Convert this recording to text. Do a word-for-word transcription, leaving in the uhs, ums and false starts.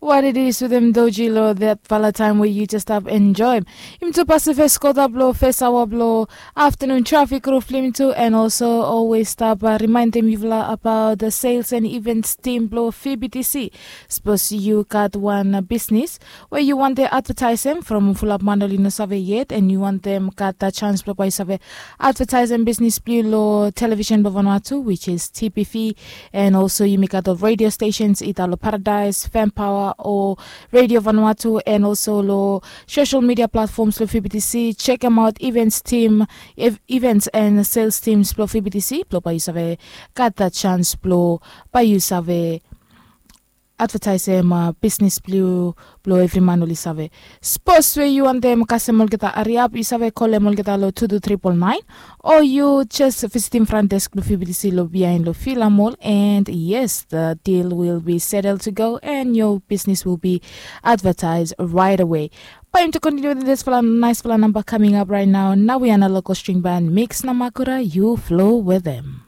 What it is with them doji lo that fala time where you just stop enjoy. Im tu pasifes kota blo fes awa blo afternoon traffic roof lim tu and also always stop uh, remind them yuvla about the sales and events team blo F B T C. Suppose you got one uh, business where you want to advertise them from fulap manoli no save yet and you want them got that chance blo you save advertise them business blue lo television blo Vanuatu, which is T P V, and also you make out of radio stations ita lo Paradise, Fan Power or Radio Vanuatu, and also lo social media platforms lo F B T C. Check them out, events team, ev- events and sales teams lo F B T C. Blo pa you save got that chance blo pa you save advertise em uh, business blue blo every man oli save. Suppose where you want them kasem olgeta ariap you save call them olgeta lo two two triple nine or you just visit in front desk lo F B T C lo behind lo Fila Mall and yes the deal will be settled to go and your business will be advertised right away. But to continue with this fala nice fala number coming up right now. Now we are local string band mix namakura you flow with them.